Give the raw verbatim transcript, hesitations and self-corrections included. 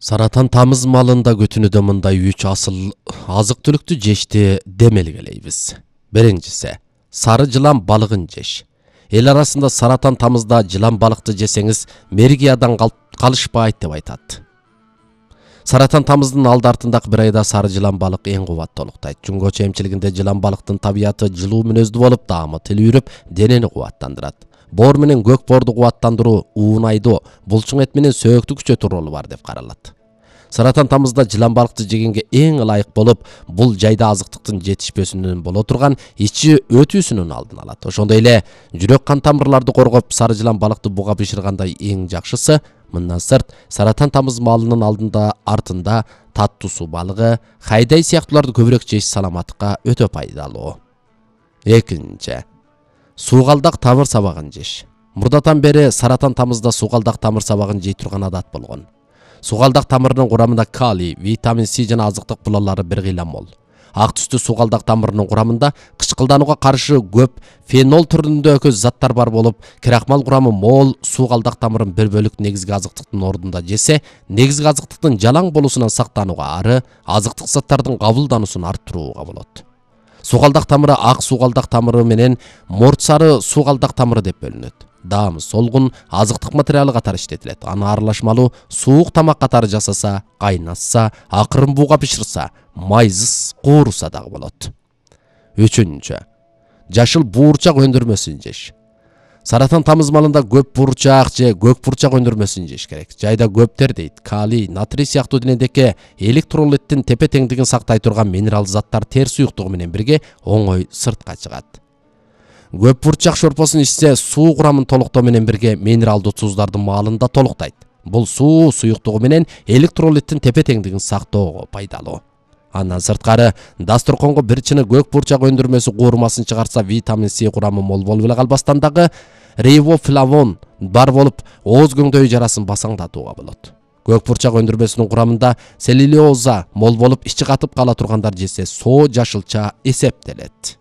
Саратан тамыз малында көтүнүдө мындай үч асыл азык түлүктү жешти демелгелейбиз. Биринчиси сары жылан балыгын жеш. Эл арасында Саратан тамызда жылан балыкты жесеңиз мергиядан калышпайт деп айтат. Саратан тамыздын алды артындагы бир айда сары жылан балык эң кубаттуулуктайт. Жунгочу эмчилигинде жылан балыктын табияты жылуу мүнөздүү болуп, даамы тилүүрүп, денени кубаттандырат. Боор менен көк боорду кубаттандыруу, уунайдуу, булчуң эт менен сөөктү күчөтүү ролу бар деп каралат. Саратан тамызда жылан балыкты жегенге эң ылайык болуп, бул жайда азыктыктын жетишпесинен боло турган ичи өтүүсүнүн алдын алат. Ошондой эле жүрөк кан тамырларды коргоп, сары жылан балыкты буга бышыргандай эң жакшысы, мындан сырт Саратан тамыз малынын алдында артында таттуу суу балыгы, хайдай сыяктууларды көбүрөөк жеш саламаттыкка өтө пайдалуу. Экинчи суугалдак тамыр сабагын жеш. Мурдатан бери Саратан тамызда суугалдак тамыр сабагын жей турган адат болгон. Суугалдак тамырынын курамында калий, витамин С жана азыктык булалары бир кыйла мол. Ак түстүү суугалдак тамырынын курамында кычкылданууга каршы көп фенол түрүндөгү заттар бар болуп, крахмал курамы мол суугалдак тамырын бир бөлүк негизги азыктыктын ордунда жесе, негизги азыктыктын жалаң болуусунан сактанууга, ары азыктык заттардын кабылдануусун арттырууга болот. Суугалдак тамыры ак суугалдак тамыры менен морт сары суугалдак тамыры деп бөлүнөт. Даамы солгун азыктык материалы катары иштетилет. Аны аралашмалуу суук тамак катары жасаса, кайнатса, акырын бууга бышырса, майсыз кууруса дагы болот. Үчүнчү жашыл буурчак өндүрмөсүн жеш. Саратан тамыз малында көп буурчак же көк буурчак өндүрмөсүн жеш керек. Жайда көптер дейт, калий, натрий сыяктуу денедеги электролиттин тепе теңдигин сактай турган минерал заттар тер суюктугу менен бирге оңой сыртка чыгат. Көп бурчак шорпосун ичсе, суу курамын толуктоо менен бирге минералдуу туздардын маалында толуктайт. Бул суу суюктугу менен электролиттин тепе теңдигин сактоого пайдалуу. Андан сырткары дасторконго бир чыны көк бурчак өндүрмөсү куурмасын чыгарса, витамин С курамы мол болуп эле калбастан дагы рибофлавон бар болуп, ооз көңдөй жарасын басаңдатууга болот. Көк бурчак өндүрмөсүнүн курамында целлюлоза мол болуп, ичи катып кала тургандар жесе, соо жашылча эсептелет.